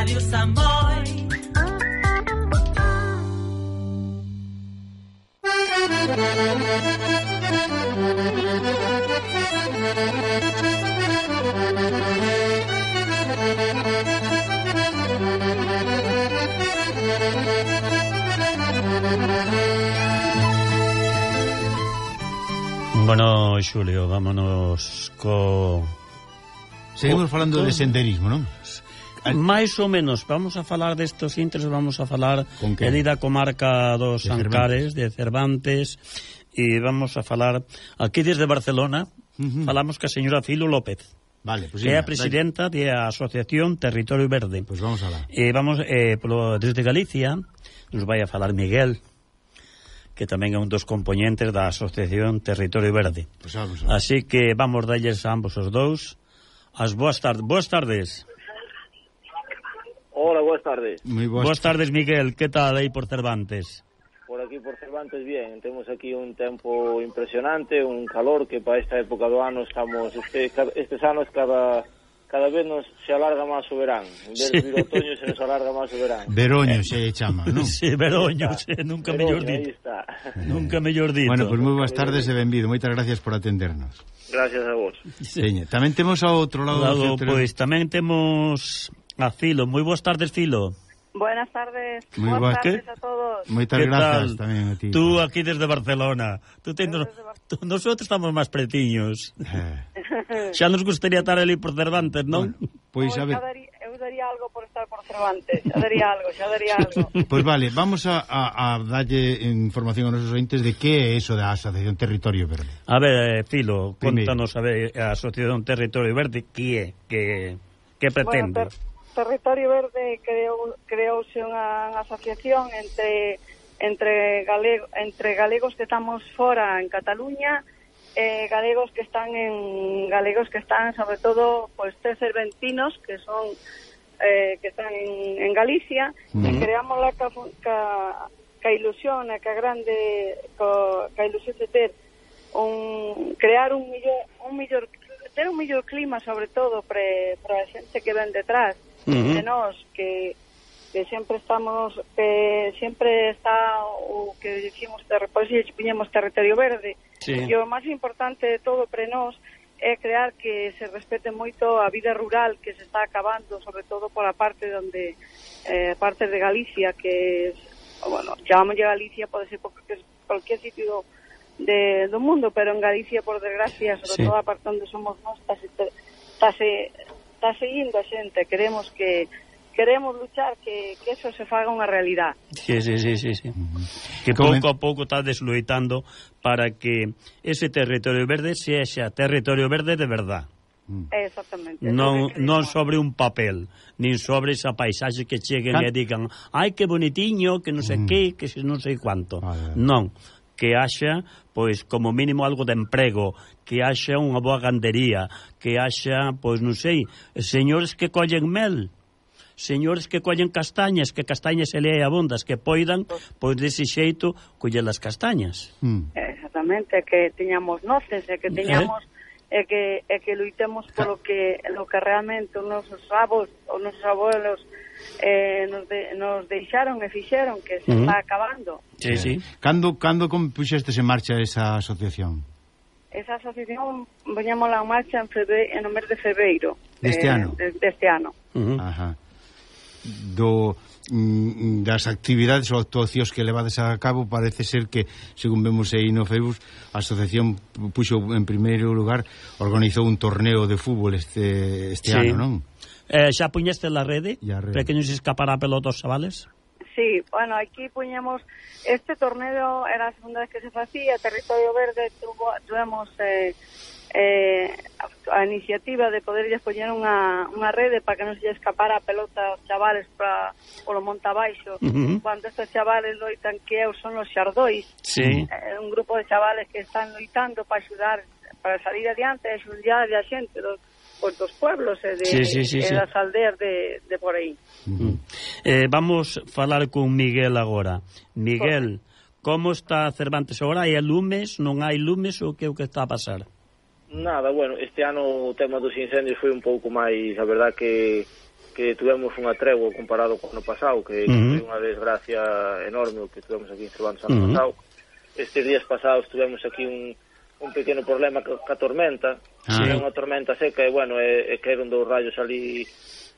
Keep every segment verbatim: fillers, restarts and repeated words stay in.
Radio Samboy. Bueno, Xulio, vámonos co... Seguimos co, falando co... de senderismo, non? Mais ou menos, vamos a falar destos intres, vamos a falar de da comarca dos de Ancares, Cervantes. de Cervantes, e vamos a falar aquí desde Barcelona, uh-huh. falamos ca señora Filo López. Vale, pues que é a presidenta da Asociación Territorio Verde. Pois pues vamos alá. E vamos, eh, polo, desde Galicia, nos vai a falar Miguel, que tamén é un dos componentes da Asociación Territorio Verde. Pues vamos alá. Así que vamos dalles a ambos os dous as boas tardes. Boas tardes. Hola, boas tardes. Muy boas, boas tardes, Miguel. Que tal aí por Cervantes? Por aquí por Cervantes bien, temos aquí un tempo impresionante, un calor que para esta época do ano estamos, este, estes anos cada cada vez nos se alarga máis o verán, en vez de vir o otoño se nos alarga máis o verán. Veroño eh. se chama, non? Sí, Veroño, sí, nunca mellor dito. Aí está. Nunca mellor dito. Bueno, pois pues moi boas tardes e benvido, moitas gracias por atendernos. Gracias a vos. Sí. Seña, tamén temos ao outro lado, lado pois pues, tamén temos a Filo. Moi boas tardes, Filo. Buenas tardes. Muy Buenas ¿Qué? tardes a todos. Moitas gracias tamén a ti. Tú aquí desde Barcelona. Tú ten... desde Bar... tú, nosotros estamos máis pretiños. Eh. Xa nos gustaría estar ali por Cervantes, non? Bueno, pois a ver. Eu daría algo por estar por Cervantes. Xa daría algo, xa daría algo. Pois vale, vamos a, a, a darlle información a nosos ointes de que é eso da Asociación Territorio Verde. A ver, Filo, contanos a ver a Asociación Territorio Verde que é, que que pretende. Bueno, ter... Territorio Verde creou, creouse unha asociación entre entre, galego, entre galegos que estamos fora en Cataluña e galegos que están en galegos que están sobre todo pues tres cerventinos que son eh, que están en, en Galicia uh-huh. e creamos la ca, ca, ca ilusión a ca grande ca, ca ilusión de ter un crear un millor un millor ter un millor clima sobre todo pre, para a xente que ven detrás. Uh-huh. De nós que, que sempre estamos que sempre está o que dicimos depois e poñemos territorio verde sí. E o máis importante de todo pre nós é crear que se respete moito a vida rural que se está acabando, sobre todo por a parte donde eh, parte de Galicia que bueno, chamamos Galicia, pode ser porque cualquier sitio de, do mundo, pero en Galicia por desgracia, sobre sí. todo a parte onde somos nós está se, está se está seguindo a xente, queremos que queremos luchar que, que eso se faga unha realidad. Sí, sí, sí, sí, sí. Uh-huh. Que pouco a pouco está desloitando para que ese territorio verde sexa territorio verde de verdad. Uh-huh. Exactamente. Non, non sobre un papel, nin sobre esa paisaxe que cheguen Can... e digan, ai, que bonitiño, que non sei uh-huh. que, que non sei cuánto. Vale. Non. Que haxa, pois, como mínimo algo de emprego, que haxa unha boa gandería, que haxa, pois, non sei, señores que collen mel, señores que collen castañas, que castañas se le abondas, que poidan, pois, dese xeito, coller as castañas. Mm. Exactamente, que teñamos noces, e que teñamos, e que, e que luitemos polo que, lo que realmente os nosos avós, os nosos abuelos, Eh, nos, de, nos deixaron e fixeron que se uh-huh. está acabando. Sí, sí. Cando, cando puxestes en marcha esa asociación? Esa asociación poñámola en marcha en, febre, en o mes de febreiro deste eh, ano? De, deste ano. Uh-huh. Ajá. Do, mm, das actividades ou actuacións que levades a cabo parece ser que, según vemos aí no Facebook, a asociación puxo en primeiro lugar, organizou un torneo de fútbol este, este sí. ano, non? Eh, xa puñeste la rede, rede. Para que non se escapara a pelota os chavales? Sí, bueno, aquí puñemos este torneo, era a segunda vez que se facía, Territorio Verde tuvo, tuvemos eh, eh, a iniciativa de poderlles poñer unha, unha rede para que non se escapara a pelota os chavales para polo monte abaixo. Uh-huh. Cuando estes chavales loitan que eu son os xardóis, sí. eh, un grupo de chavales que están loitando para axudar, para salir adiante e axudar a xente dos pues, dos pueblos e de, sí, sí, sí, de sí. das aldeas de, de por aí. Uh-huh. eh, Vamos falar con Miguel agora. Miguel, como está Cervantes agora? Hai lumes, non hai lumes ou que é o que está a pasar? Nada, bueno, este ano o tema dos incendios foi un pouco máis, a verdad que que tuvemos unha tregua comparado co ano pasado, que uh -huh. foi unha desgracia enorme o que tuvemos aquí en Cervantes ano uh -huh. pasado. Estes días pasados tuvemos aquí un, un pequeno problema ca tormenta, ah. que é unha tormenta seca, e, bueno, e, e caeron dos rayos ali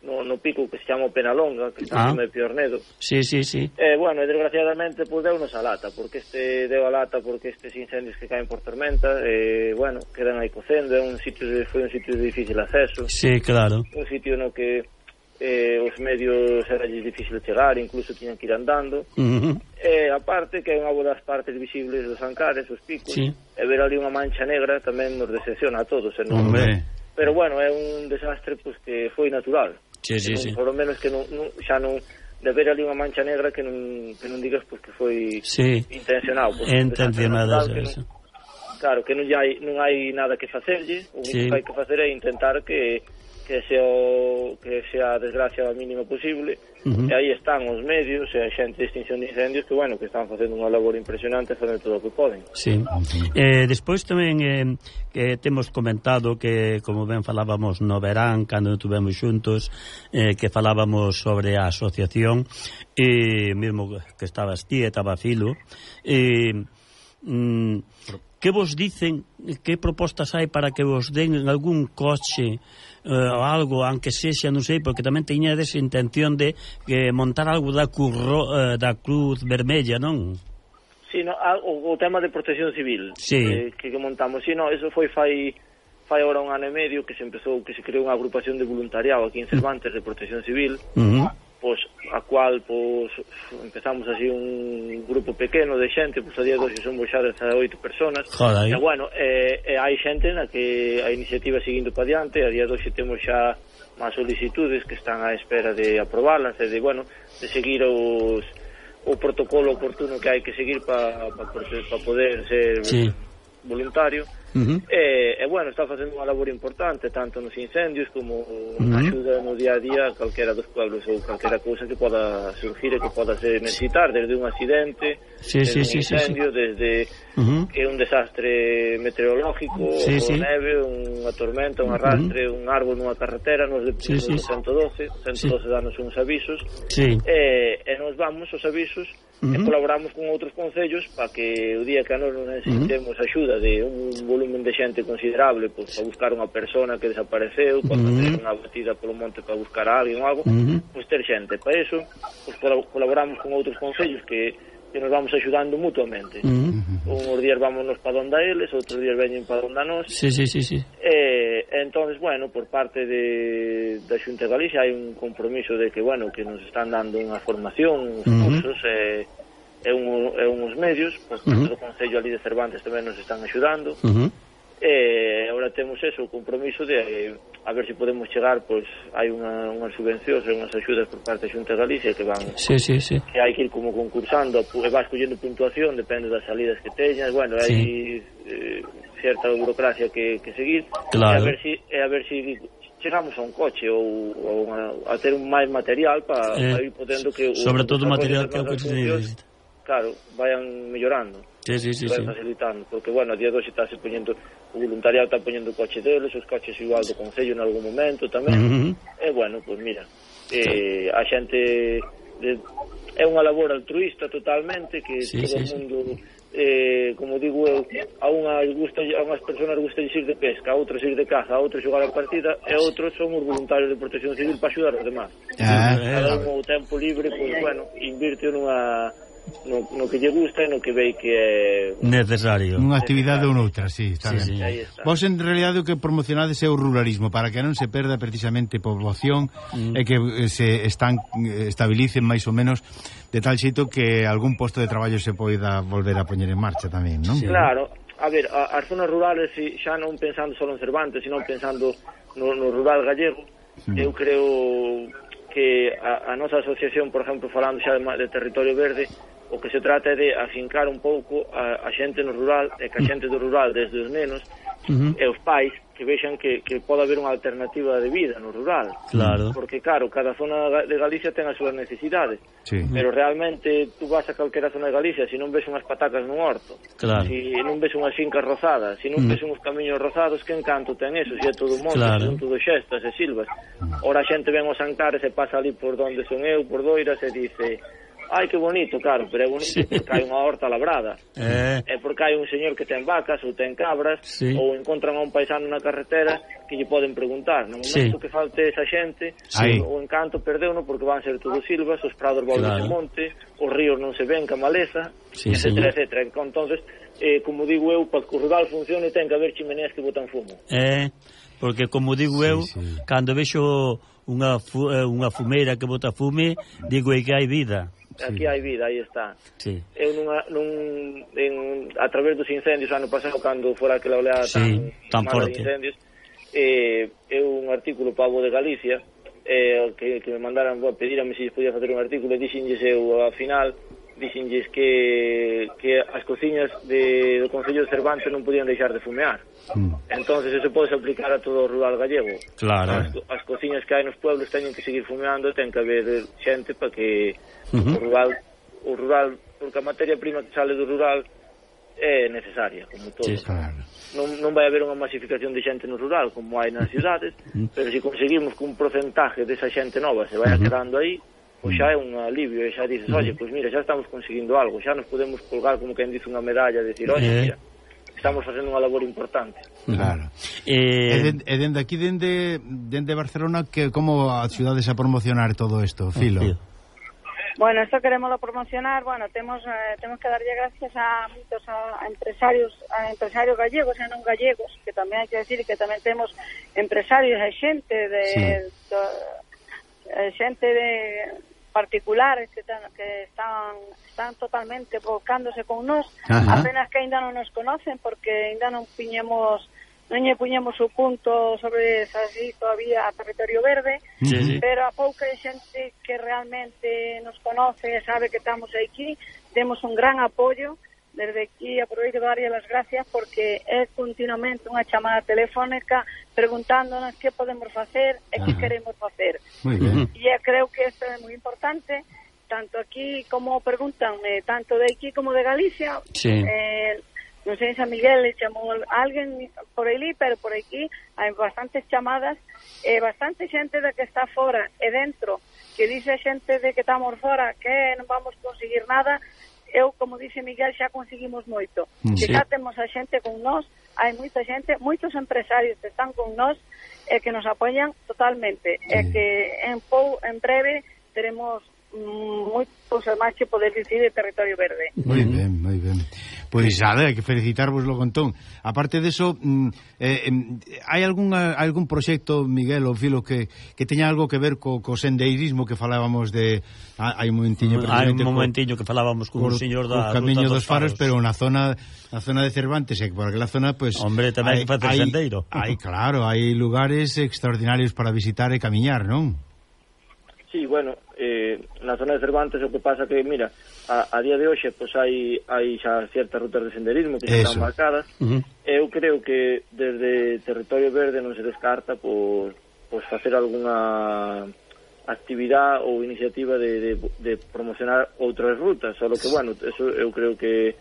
no, no pico que se chama Penalonga, que está ah. encima de Piornedo. Sí, sí, sí. E, bueno, e desgraciadamente, pues, deunos a lata, porque este deu a lata porque estes incendios que caen por tormenta, e, bueno, quedan aí cocendo, é un sitio de, foi un sitio de difícil acceso. Sí, claro. Un sitio no que eh, os medios era difícil chegar, incluso tiñan que ir andando. Uh -huh. E, aparte, que é unha das partes visibles dos Ancares, os picos, sí. E ver ali unha mancha negra tamén nos decepciona a todos. E non, pero, bueno, é un desastre pues, que foi natural. Sí, sí, non, sí. Por lo menos que non, non, xa non de ver ali unha mancha negra que non, que non digas pues, que foi sí. intencionado. Pues, intencionado, que non, claro, que non hai, non hai nada que facerlle, o único sí. que hai que facer é intentar que que sea o, que sea a desgracia a mínima posible, uh -huh. e aí están os medios e a xente de extinción de incendios que, bueno, que están facendo unha labor impresionante, facendo todo o que poden. Sí. Uh -huh. eh, despois tamén eh, que temos comentado que, como ben falábamos no verán, cando tuvemos xuntos, eh, que falábamos sobre a asociación, e eh, mesmo que estabas ti, estaba Filo, e... Eh, mm, que vos dicen, que propostas hai para que vos den algún coche uh, algo, aunque sexa, non sei, porque tamén teñades intención de que montar algo da, curro, uh, da Cruz Vermella, non? Sí, no, o, o tema de protección civil sí. eh, que, que montamos, sí, no, eso foi fai fai ahora un ano e medio que se empezou, que se creou unha agrupación de voluntariado aquí en Cervantes de protección civil, uh -huh. pois a cual pois empezamos así un grupo pequeno de xente, pois a día de hoxe somos xa dezaoito personas. Joder. E bueno, e, e hai xente na que a iniciativa seguindo para diante, a día de hoxe temos xa máis solicitudes que están á espera de aprobarlas e de, bueno, de seguir os o protocolo oportuno que hai que seguir para pa, pa, pa poder ser sí. voluntario. Uh -huh. e, e bueno, está facendo unha labor importante tanto nos incendios como uh -huh. axuda no día a día a calquera dos pueblos ou calquera cousa que poda surgir e que poda se necesitar, desde un accidente, sí, desde sí, un incendio, sí, sí. desde uh -huh. que un desastre meteorológico, sí, sí. neve, unha tormenta, un arrastre, uh -huh. un árbol nunha carretera, nos de sí, sí. ciento doce, ciento doce sí. danos uns avisos, sí. e, e nos vamos os avisos uh -huh. e colaboramos con outros concellos para que o día que a nós non necesitemos uh -huh. axuda de un volumen de xente considerable, pois, para buscar unha persona que desapareceu, para uh -huh. facer unha batida polo monte para buscar a alguén ou algo, uh -huh. pois ter xente. Para iso, pois, colaboramos con outros concellos que, que nos vamos axudando mutuamente. Uh -huh. Unhos días vámonos para donde a eles, outros días veñen para donde a nós. Sí, sí, sí, sí. E, entonces, bueno, por parte de, da Xunta de Galicia hai un compromiso de que, bueno, que nos están dando unha formación, uns uh -huh. cursos, e e, un, e uns medios, por parte uh -huh. do Concello ali de Cervantes tamén nos están axudando, uh -huh. e agora temos eso, o compromiso de eh, a ver se si podemos chegar, pois hai unha, unhas subvencións e unhas axudas por parte da Xunta de Galicia que van, sí, sí, sí. que hai que ir como concursando e vas collendo puntuación, depende das salidas que teñas, bueno, hai sí. eh, certa burocracia que, que seguir, claro. e a ver si, e a ver si chegamos a un coche ou, ou a, a ter un máis material para eh, pa ir podendo que sobre todo o material que o coche necesita, claro, vayan mellorando, sí, sí, sí, vayan sí. facilitando, porque, bueno, a día de hoxe está se poñendo, o voluntariado está poñendo o coche deles, os coches igual do Concello en algún momento tamén, uh -huh. e, bueno, pois pues mira, eh, a xente de, é unha labor altruista totalmente, que sí, todo o sí, mundo, eh, como digo eu, a unhas gusta, a unhas personas gusta de ir de pesca, a outras ir de caza, a outros xogar a partida, e outros son os voluntarios de protección civil para axudar os demás. Ah, cada un o tempo libre, pois, pues, bueno, invirte nunha No, no que lle gusta e no que vei que é necesario. Unha actividade ou noutra, sí, está sí, ben. Sí. Vos en realidade o que promocionades é o ruralismo para que non se perda precisamente poboación mm. e que se están estabilicen máis ou menos de tal xeito que algún posto de traballo se poida volver a poñer en marcha tamén, non? Sí. Claro, a ver, a, as zonas rurales xa non pensando só en Cervantes, sino pensando no, no rural gallego, mm. eu creo que a, a nosa asociación, por exemplo, falando xa de, de territorio verde, o que se trata é de afincar un pouco a, a xente no rural, e que a xente do rural, desde os nenos uh -huh. e os pais, que vexan que, que pode haber unha alternativa de vida no rural. Claro. Porque, claro, cada zona de Galicia ten as súas necesidades. Sí. Pero realmente tú vas a calquera zona de Galicia, se non ves unhas patacas nun horto, Claro. se non ves unhas fincas rozadas, se non Mm. ves uns camiños rozados, que encanto ten eso? Se é todo monte, Claro. son todo xestas e silvas. Ora a xente ven os Ancares e pasa ali por donde son eu, por Doiras, e dice... Ai, que bonito, claro, pero é bonito Sí. porque hai unha horta labrada. Eh. É porque hai un señor que ten vacas ou ten cabras, Sí. ou encontran a un paisano na carretera que lle poden preguntar. No Sí. momento que falte esa xente, Sí. o encanto perdeuno porque van ser todos silvas, os prados volven Claro. de monte, os ríos non se ven ca maleza, Sí, etcétera, señor. etcétera. Entonces, eh, como digo eu, para que o rural funcione ten que haber chimeneas que botan fumo. Eh, porque como digo Sí, eu, sí. cando vexo unha, fu, eh, unha fumeira que bota fume, digo é que hai vida. Aquí hai vida, aí está. Sí. Eu nunha, nun, en, a través dos incendios ano pasado, cando fora aquela oleada Sí, tan tan, mala forte. de incendios, eh, eu un artículo para a Voz de Galicia, eh, que, que me mandaran a pedirame se podía facer un artículo, e dixenlles eu ao final, dixenlles que, que as cociñas de, do Concello de Cervantes non podían deixar de fumear. Mm. Entonces eso pode aplicar a todo o rural gallego. Claro. As, as cociñas que hai nos pueblos teñen que seguir fumeando, ten que haber xente para que Uh-huh. o rural, o rural, porque a materia prima que sale do rural é necesaria, como todo. Sí. Claro. Non, non vai haber unha masificación de xente no rural como hai nas cidades, pero se conseguimos que un porcentaje desa xente nova se vaya quedando aí, pois xa é un alivio, e xa dices, oye, pois mira, xa estamos conseguindo algo, xa nos podemos colgar como quen dice unha medalla, e decir, oye, Eh. mira, estamos facendo unha labor importante. Claro. Eh, E, den, e dende aquí, dende, dende Barcelona, que como a cidades a promocionar todo isto, Filo? sí. Bueno, esto queremos promocionar, bueno, temos eh, temos que darlle gracias a moitos a, a empresarios, a empresarios gallegos e non gallegos, que tamén hai que decir que tamén temos empresarios e xente de, Sí. do, eh, xente de particulares que, tan, que están están totalmente volcándose con nós, Ajá. apenas que ainda non nos conocen porque ainda non puñemos non lle puñemos o punto sobre así todavía a territorio verde, Sí, sí. pero a pouca xente que realmente nos conoce e sabe que estamos aquí, temos un gran apoio. Desde aquí aproveito de darlle as gracias porque é continuamente unha chamada telefónica preguntándonos que podemos facer e que Ajá. queremos facer. Moi ben. E eu creo que isto é moi importante, tanto aquí como preguntan, eh, tanto de aquí como de Galicia. Sí. Eh, non sei, San Miguel le chamou a alguén por aí, pero por aquí hai bastantes chamadas e eh, bastante xente de que está fora e dentro, que dice xente de que estamos fora que non vamos conseguir nada. Eu, como dice Miguel, xa conseguimos moito. Mm, Que sí. xa temos a xente con nós, hai moita xente, moitos empresarios que están con nós e que nos apoian totalmente. Sí. E que en pou, en breve teremos mm, moitos máis que poder dicir de territorio verde. Moi ben, moi ben. Pois nada, hai que felicitarvoslo con ton. Aparte deso, mm, eh, eh, hai algún algún proxecto, Miguel ou Filo, que, que teña algo que ver co, co sendeirismo que falábamos de... Ah, hai un momentiño... Hai un precisamente, momentiño que falábamos con co, un señor co da Camiño Ruta dos Faros, pero na zona na zona de Cervantes, e por aquela zona, pues, Hombre, tamén hai que facer sendeiro. Hai, claro, hai lugares extraordinarios para visitar e camiñar, non? Sí, bueno, eh, na zona de Cervantes o que pasa que, mira, a, a día de hoxe pois hai hai xa ciertas rutas de senderismo que xa Eso. están marcadas. Uh-huh. Eu creo que desde Territorio Verde non se descarta pois, pois facer algunha actividade ou iniciativa de, de, de promocionar outras rutas, só que, bueno, eso eu creo que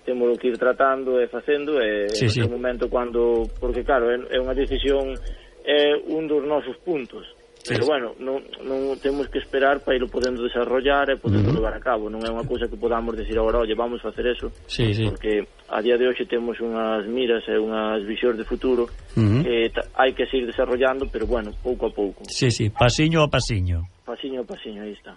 temos que ir tratando e facendo e Sí, en sí. ese momento cando, porque claro, é, é unha decisión, é un dos nosos puntos. Pero Sí. bueno, non, non temos que esperar para ir podendo desarrollar e podendo Uh-huh. levar a cabo. Non é unha cousa que podamos decir agora, oye, vamos facer eso, Sí, sí. porque a día de hoxe temos unhas miras e unhas visións de futuro Uh-huh. que ta- hai que seguir desarrollando, pero bueno, pouco a pouco. Sí, sí, pasiño a pasiño. Pasiño a pasiño, aí está.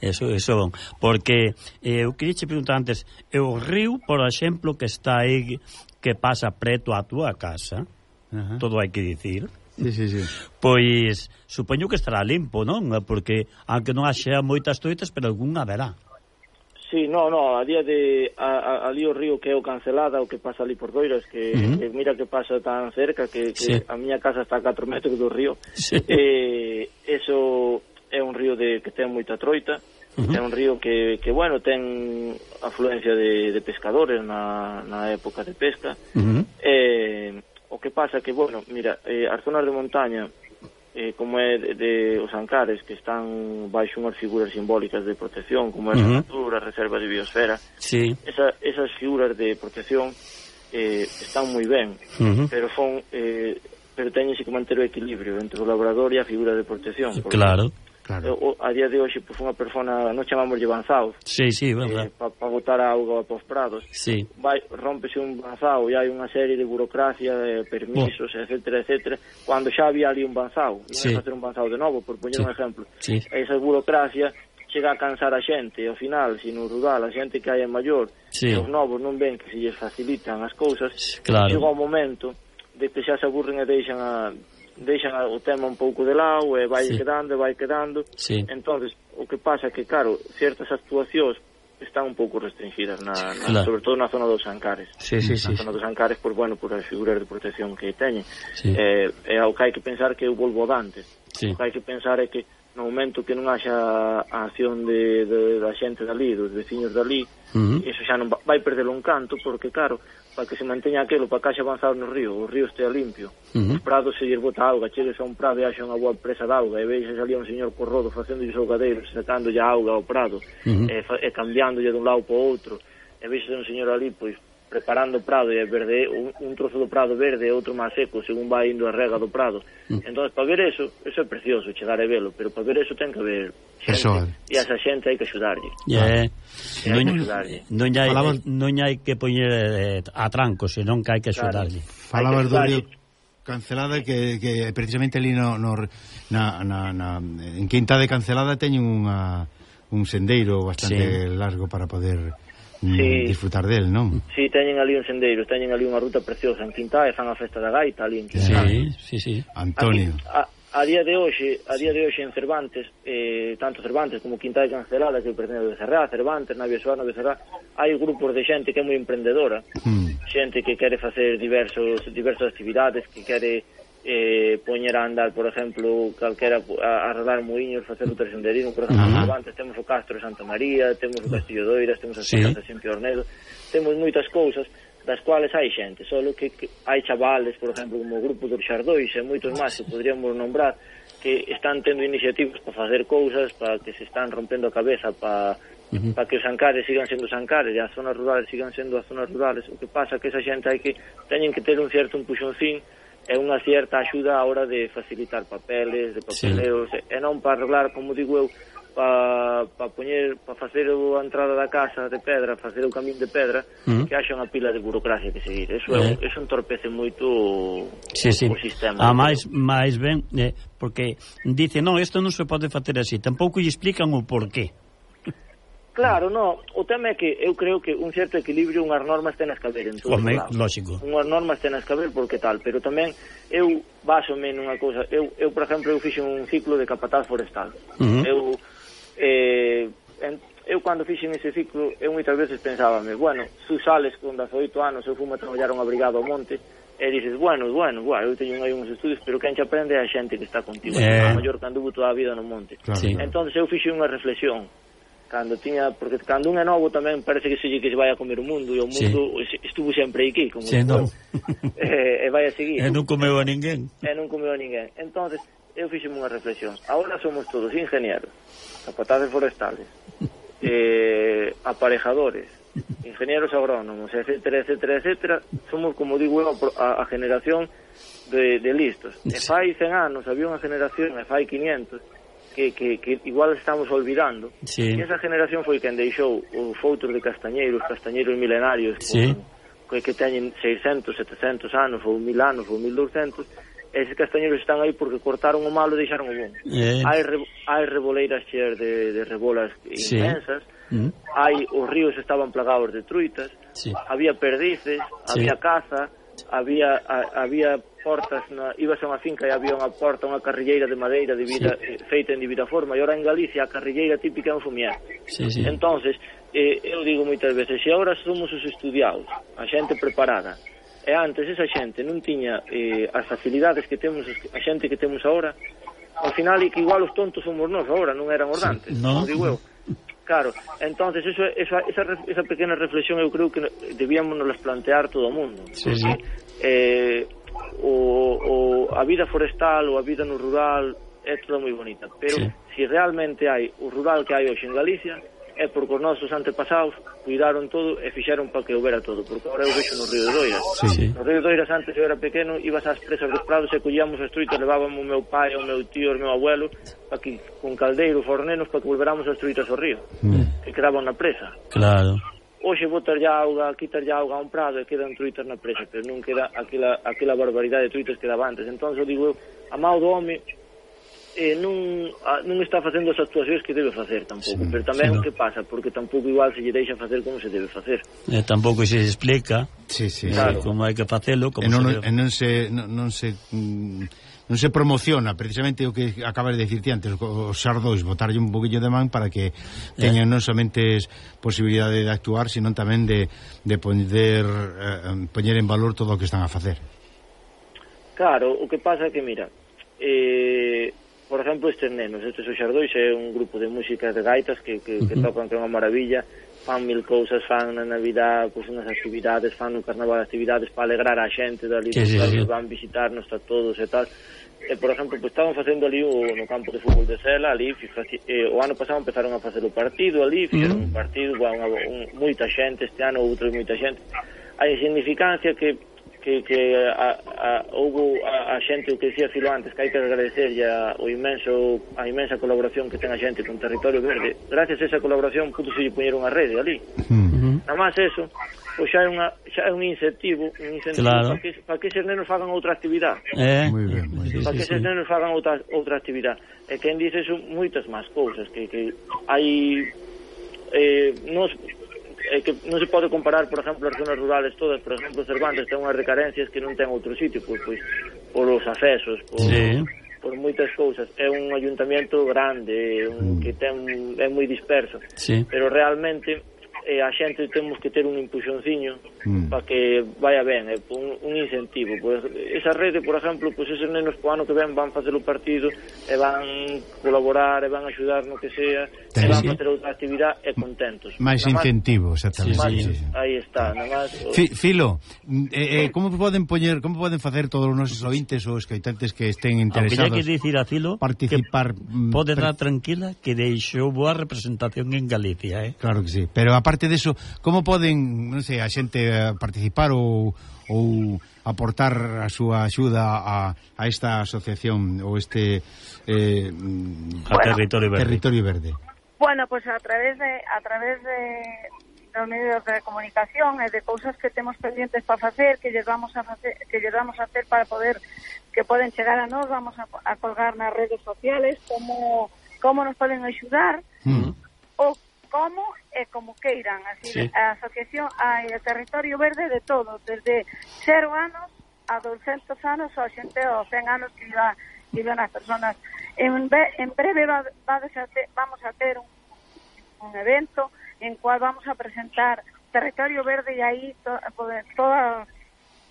Eso, eso, porque eh, eu queria che preguntar antes, e o río, por exemplo, que está aí, que pasa preto á túa casa, Ajá. todo hai que dicir, Sí, sí, sí. pois supoño que estará limpo, non? Porque, aunque non haxa moitas toitas, pero algunha haberá. Sí, no, no, a día de a, a, ali o río que é o Cancelada, o que pasa ali por Doiras, que, Uh-huh. que mira que pasa tan cerca que, que Sí. a miña casa está a catro metros do río. Sí. Eh, eso é un río de que ten moita troita. Uh-huh. É un río que, que bueno, ten afluencia de, de pescadores na, na época de pesca. Uh-huh. Eh, o que pasa que, bueno, mira, eh, as zonas de montaña, eh, como é de, de os Ancares, que están baixo unhas figuras simbólicas de protección, como é uh-huh. a natura, a reserva de biosfera, sí. esa, esas figuras de protección eh, están moi ben, uh-huh. pero son eh, pero teñense que manter o equilibrio entre o labrador e a figura de protección. Claro. Claro. O, a día de hoxe, pues, unha persona, non chamámoslle banzao, sí, sí, eh, para pa botar a auga para os prados, sí. vai, rómpese un banzao e hai unha serie de burocracia, de permisos, oh. etcétera, etcétera, cando xa había ali un banzao, non sí. é facer un banzao de novo, por poñer sí. un exemplo. Sí. Esa burocracia chega a cansar a xente, e ao final, se no rural, a xente que hai é maior, sí. e os novos non ven que se lles facilitan as cousas, claro. chega o momento de que xa se aburren e deixan a... deixan o tema un pouco de lado e vai sí. quedando e vai quedando sí. entonces o que pasa é que claro, certas actuacións están un pouco restringidas na, na, claro. sobre todo na zona dos Ancares sí, sí, na sí, zona sí. dos Ancares por, bueno, por as figuras de protección que teñen sí. eh, e o que hai que pensar que eu volvo antes sí. o que hai que pensar é que no momento que non haxa a acción de, de, da xente dali, dos veciños dali uh-huh. eso xa non va, vai perder un canto porque claro, para que se manteña aquilo, para que haxa avanzado no río, o río estea limpio, uh-huh. os prados se lles bota auga, chegues a un prado e haxa unha boa presa de auga, e veixas ali un señor corrodo facendo os augadeiros, sacándolle auga ao prado, uh-huh. e, e cambiándolle dun lado para outro, e veixas un señor ali, pois, preparando o prado e verde, un, un trozo do prado verde e outro máis seco, según vai indo a rega do prado. Uh-huh. Entón, para ver eso, eso é precioso, chegar e velo, pero para ver eso ten que haber xente, e a esa xente hai que axudarlle. Yeah. Non, non, hai, Falabas... non hai que poñer eh, a tranco, senón que hai que axudarlle. Claro. Falabas do río Cancelada que, que precisamente ali no, no, na, na, na, en Quinta de Cancelada teñen unha, un sendeiro bastante sí. largo para poder sí. disfrutar del, non? Si, sí, teñen ali un sendeiro, teñen ali unha ruta preciosa en Quinta e fan a festa da gaita ali en Quinta. Sí, sí, sí. Antonio. Aquí, a, a día de hoxe, a día de hoxe en Cervantes, eh, tanto Cervantes como Quinta de Cancelada, que pertence a Becerrá, Cervantes, Navia Soar, Becerrá, hai grupos de xente que é moi emprendedora, mm. xente que quere facer diversos diversas actividades, que quere eh, poñer a andar, por exemplo, calquera a, a arredar moinhos, facer o senderismo, por exemplo, uh-huh. en Cervantes temos o Castro de Santa María, temos o Castillo de Oiras, temos as sí. casas de Xente Ornedo, temos moitas cousas das cuales hai xente, solo que, que hai chavales, por exemplo, como o grupo dos Xardóis e moitos máis que poderíamos nombrar, que están tendo iniciativas para facer cousas, para que se están rompendo a cabeza para uh-huh. para que os Ancares sigan sendo os Ancares e as zonas rurales sigan sendo as zonas rurales. O que pasa é que esa xente hai que teñen que ter un certo empuxoncín e unha certa axuda a hora de facilitar papeles, de papeleos, sí. e non para arreglar, como digo eu, para pa poñer, para facer a entrada da casa de pedra, facer o camín de pedra, uh-huh. que haxa unha pila de burocracia que seguir. Eso uh-huh. é, eso entorpece moito sí, sí. o sistema. A máis, máis ben, eh, porque dice, non, isto non se pode facer así, tampouco lle explican o porqué. Claro, no, o tema é que eu creo que un certo equilibrio, unhas normas tenas que haber en todo Home, o lado. Lógico. Unhas normas tenas que haber porque tal, pero tamén eu basome nunha cousa, eu, eu por exemplo, eu fixe un ciclo de capataz forestal. Uh-huh. Eu eh, en, eu cando fixen ese ciclo, eu moitas veces pensábame, bueno, tú sales con dezaoito anos, eu fumo a traballar unha brigada ao monte, e dices, bueno, bueno, bueno, eu teño aí uns estudios, pero quen che aprende é a xente que está contigo, eh... a maior que anduvo toda a vida no monte. Claro, sí. Entón, eu fixe unha reflexión, cando tiña, porque cando un é novo tamén parece que se lle que se vai a comer o mundo, e o mundo sí. estuvo sempre aquí, como sí, no. e, e vai a seguir. E non comeu a ninguén. E non comeu a ninguén. Entonces, eu fixeme unha reflexión. Agora somos todos ingenieros, capataces forestales, eh, aparejadores, ingenieros agrónomos, etcétera, etcétera, etcétera. Somos, como digo eu, a, a generación de, de listos. E fai cen anos había unha generación, e fai quinientos, que, que, que igual estamos olvidando. Sí. E esa generación foi quen deixou os foutros de castañeiros, castañeiros milenarios, sí. que, que teñen seiscentos, setecentos anos, ou mil anos, ou mil doscientos. Eses castañeiros están aí porque cortaron o malo e deixaron o bon. Eh. Hai, re, hai reboleiras cheas de, de rebolas sí. inmensas, mm. hai, os ríos estaban plagados de truitas, sí. había perdices, sí. había caza, había a, había portas, na, ibas a unha finca e había unha porta, unha carrilleira de madeira de vida, sí. eh, feita en divida forma, e ora en Galicia a carrilleira típica é un fumier. Sí, sí. Entonces, eh, eu digo moitas veces, se agora somos os estudiados, a xente preparada, e antes esa xente non tiña eh, as facilidades que temos, a xente que temos agora, ao final e que igual os tontos somos nós agora, non eran os dantes, sí. no. digo eu. Claro, entonces eso, esa, esa, esa pequena reflexión eu creo que debíamos nos plantear todo o mundo. Sí, sí. Eh, o, o a vida forestal ou a vida no rural é toda moi bonita, pero sí. se realmente hai o rural que hai hoxe en Galicia é porque os nosos antepasados cuidaron todo e fixeron para que houbera todo, porque agora eu vexo no Río de Doiras. Sí. No Río de Doiras, antes eu era pequeno, ibas ás presas dos prados e collíamos as truitas, levábamos o meu pai, o meu tío, o meu abuelo, aquí con caldeiro, fornenos, para que volveramos as truitas ao río, mm. que quedaban na presa. Claro. Hoxe botar ya auga, quitar ya auga a un prado e quedan truitas na presa, pero non queda aquela, aquela barbaridade de truitas que daba antes. Entón, eu digo, a mão do home eh, non, a, non está facendo as actuacións que debe facer tampouco, sí, pero tamén sí, o que pasa, porque tampouco igual se lle deixa facer como se debe facer. Eh, tampouco se explica sí, sí, claro. como hai que facelo, como non, se debe... non se non, non se non se promociona precisamente o que acabas de dicirte antes, os xardóis, botarlle un poquillo de man para que teñan eh. non somente posibilidade de actuar, sino tamén de, de poder eh, poñer en valor todo o que están a facer. Claro, o que pasa é que, mira, eh por exemplo, estes nenos, estes os xardóis é un grupo de música de gaitas que, que, que tocan que é unha maravilla, fan mil cousas, fan na Navidad, pois unhas actividades, fan no Carnaval actividades para alegrar a xente dali, sí, sí, sí. van visitarnos a todos e tal. E, por exemplo, pues, estaban facendo ali o, no campo de fútbol de Sela, ali, fijaci, eh, o ano pasado empezaron a facer o partido ali, fixeron mm. un partido, bueno, un, moita xente, este ano outro moita xente. A insignificancia que que, que a, a, houve a, a xente, o que dicía Filo antes, que hai que agradecerlle a, o inmenso, a inmensa colaboración que ten a xente con Territorio Verde. Gracias a esa colaboración pudo se poñer unha rede ali. Uh-huh. Nada máis eso, pois xa é, unha, xa é un incentivo, un incentivo claro. para que, para que eses nenos fagan outra actividade. Eh? Muy bien, muy bien. Para que eses sí, nenos fagan outra, outra actividade. E quen dice eso, moitas máis cousas, que, que hai... Eh, nos... É que non se pode comparar, por exemplo, as zonas rurales todas. Por exemplo, Cervantes ten unhas recarencias que non ten outro sitio, pois, pois por os accesos, por, sí. por moitas cousas. É un ayuntamiento grande, un, que ten é moi disperso, sí. pero realmente eh, a xente temos que ter un impulsionciño mm. para que vaya ben, eh, un, un incentivo. Pues, esa rede, por exemplo, pues, esos nenos po ano que ven van facer o partido e van colaborar e van axudar no que sea, e van sí. facer outra actividade e contentos. Mais incentivo, exactamente. Sí, sí, sí. Aí está, nada máis. Filo, eh, eh, como poden poñer, como poden facer todos os nosos ointes ou escoitantes que estén interesados? Aunque hai que dicir a Filo participar, que pode dar tranquila que deixou boa representación en Galicia, eh? Claro que sí, pero aparte de eso, como poden, non sei, a xente participar ou ou aportar a súa axuda a, a esta asociación ou este eh, a bueno, Territorio Verde. Territorio Verde. Bueno, pues a través de a través de dos medios de comunicación e de cousas que temos pendientes para facer, que lles vamos a facer, que lles vamos a hacer para poder que poden chegar a nós, vamos a, a colgar nas redes sociales como como nos poden axudar. Mm. O como e como queiran, así sí. A asociación hai o Territorio Verde de todo, desde cero anos a doscientos anos ou a xente aos cen anos que iba, iban as personas. En, en breve va, va a ter, vamos a ter un, un evento en cual vamos a presentar Territorio Verde e aí to, todas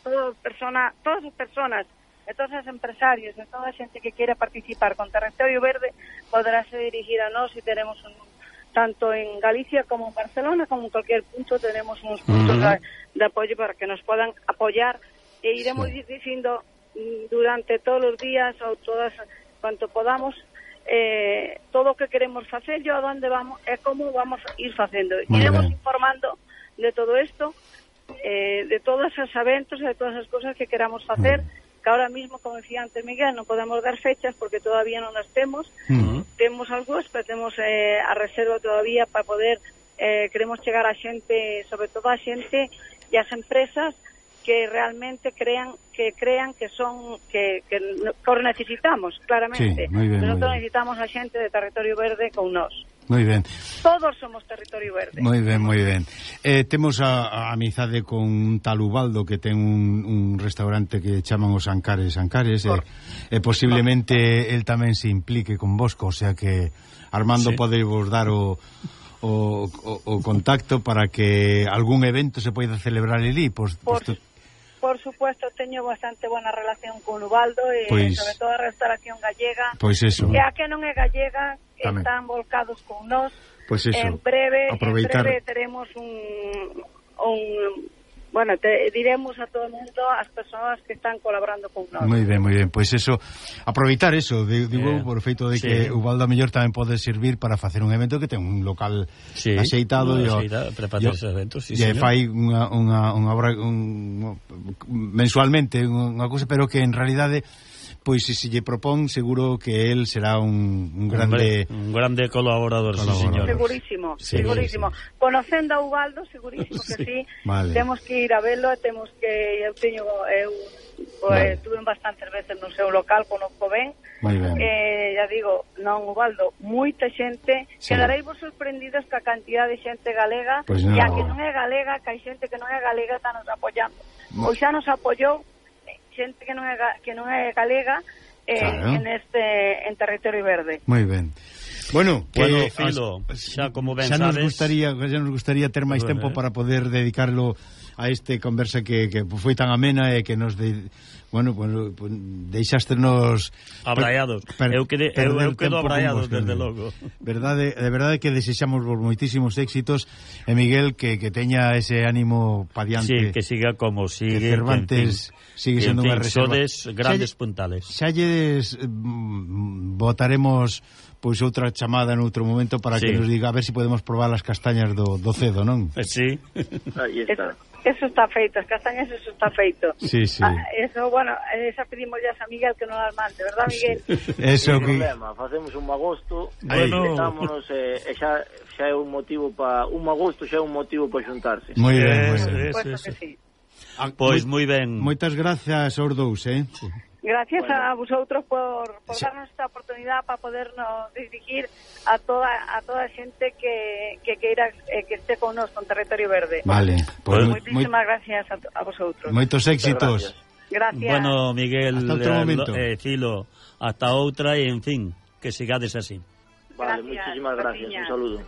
todas personas, todas as personas e todos os empresarios e toda a xente que queira participar con Territorio Verde poderase dirigir a nós e teremos un tanto en Galicia como en Barcelona, como en cualquier punto, tenemos unos puntos uh-huh. de, de apoyo para que nos puedan apoyar e iremos sí. diciendo durante todos los días o todas, cuanto podamos, eh, todo o que queremos facer, yo a dónde vamos e como vamos a ir facendo. Muy iremos bien. Informando de todo esto, eh, de todos esos eventos e de todas as cosas que queramos facer, uh-huh. que ahora mismo, como decía antes Miguel, non podemos dar fechas porque todavía non as temos. Uh-huh. Temos algúas, pero temos eh, a reserva todavía para poder, eh, queremos chegar a xente, sobre todo a xente e as empresas que realmente crean que crean que son que, que, que os necesitamos, claramente. Sí, muy bien, nosotros muy bien. necesitamos a xente de Territorio Verde con nós. Moi ben. Todos somos Territorio Verde. Moi ben, moi ben. Eh, temos a, a amizade con un tal Ubaldo que ten un, un restaurante que chaman os Ancares Ancares e eh, eh, posiblemente el tamén se implique con vosco, o sea que Armando sí. pode vos dar o, o, o, o contacto para que algún evento se poida celebrar ali. Pues, por, pues, por supuesto, teño bastante buena relación con Ubaldo e pues, sobre todo a restauración gallega. Pois pues eso. E a que non é gallega tamén. Están volcados con nós. Pues eso. En breve, aproveitar... en breve teremos un, un bueno, te diremos a todo o mundo, as persoas que están colaborando con nós. Moi ben, moi ben. Pois pues eso, aproveitar eso, digo, eh, por feito de sí. que o Val da Mellor tamén pode servir para facer un evento que ten un local sí, axeitado no, e axeita, para facer esos eventos, sí, e fai unha, unha, unha obra un, mensualmente unha cousa, pero que en realidade pois se se lle propón, seguro que él será un, un grande un grande colaborador, colaborador. Sí, señor. Segurísimo, sí, segurísimo. Sí. Conocendo a Ubaldo, segurísimo que sí. sí. Vale. Temos que ir a velo, temos que eu teño eu pues, vale. Tuve bastantes veces no seu local, conozco ben. Moi ben. Eh, ya digo, non, Ubaldo, moita xente, sí. Quedareis vos sorprendidos ca cantidad de xente galega, pues no. E a que non é galega, que hai xente que non é galega está nos apoiando. Mo... Pois xa nos apoiou xente que non é que non é galega eh, claro. en este en territorio verde. Moi ben. Bueno, que bueno, Filo, xa como ben xa sabes, nos gustaría, xa nos gustaría ter máis bueno, tempo eh. para poder dedicarlo a este conversa que, que foi tan amena e que nos de, bueno, bueno, pues, deixástenos abraiados. Per, eu, quede, eu, eu quedo abraiado desde logo. Verdade, de verdade que desexamos vos moitísimos éxitos e Miguel que, que teña ese ánimo pa diante. Sí, que siga como sigue. Que Cervantes que, sigue sendo unha reserva. Sodes grandes xa, puntales. Xa lles mm, votaremos pois outra chamada en outro momento para sí. que nos diga a ver se si podemos probar as castañas do, do cedo, non? Sí. Aí está. Eso está feito, as castañas eso está feito. Sí, sí. Ah, eso, bueno, esa pedimos ya a Miguel que non las mande, verdad, Miguel? Sí. Eso que... problema, facemos un magosto, bueno. Estámonos, e eh, xa, xa é un motivo para un magosto, xa é un motivo para xuntarse. Moi ben, moi ben. Por supuesto que sí. Pois moi ben. Moitas grazas aos dous, eh? Sí. Gracias bueno. a vosotros por, por sí. darnos esta oportunidad para podernos dirigir a toda a toda a xente que, que queira eh, que esté con nos con Territorio Verde. Vale. Pues, moitísimas moi... gracias a, a vosotros. Moitos éxitos. Gracias. Bueno, Miguel, hasta outro momento. Eh, Filo, hasta outra e, en fin, que sigades así. Vale, gracias, muchísimas gracias. Gracias. Un saludo.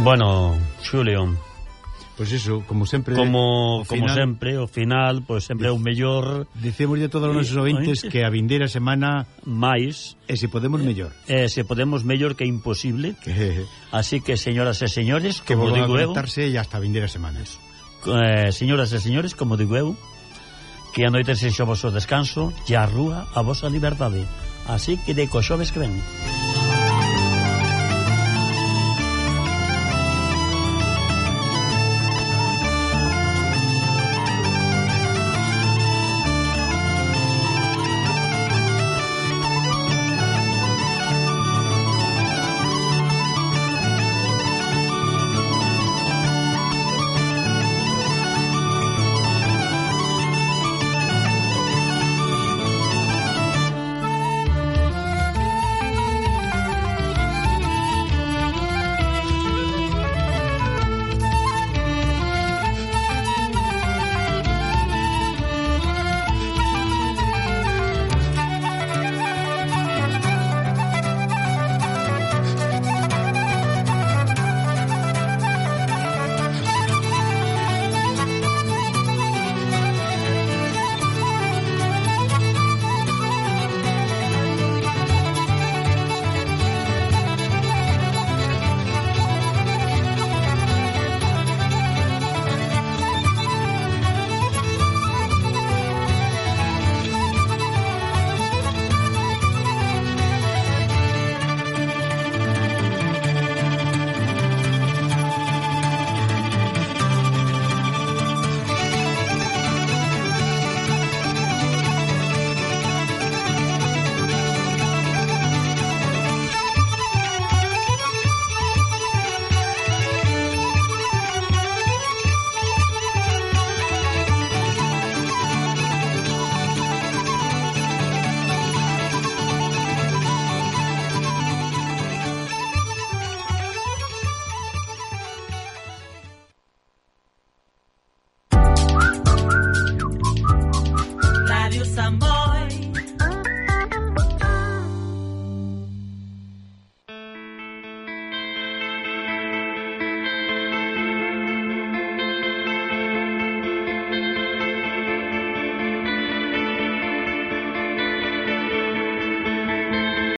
Bueno, Xulio, pois pues eso, como sempre como como final, sempre, o final, pois pues sempre é o mellor. Dicémoslle a todos os nosos ouvintes que a vindeira semana máis e se podemos mellor. E se podemos mellor que imposible. Así que, señoras e señores, que como digo eu, e hasta a vindeira semanas. Eh, señoras e señores, como digo eu, que a noite sexa o vosso descanso e a rúa a vosa liberdade. Así que de co xoves que ven.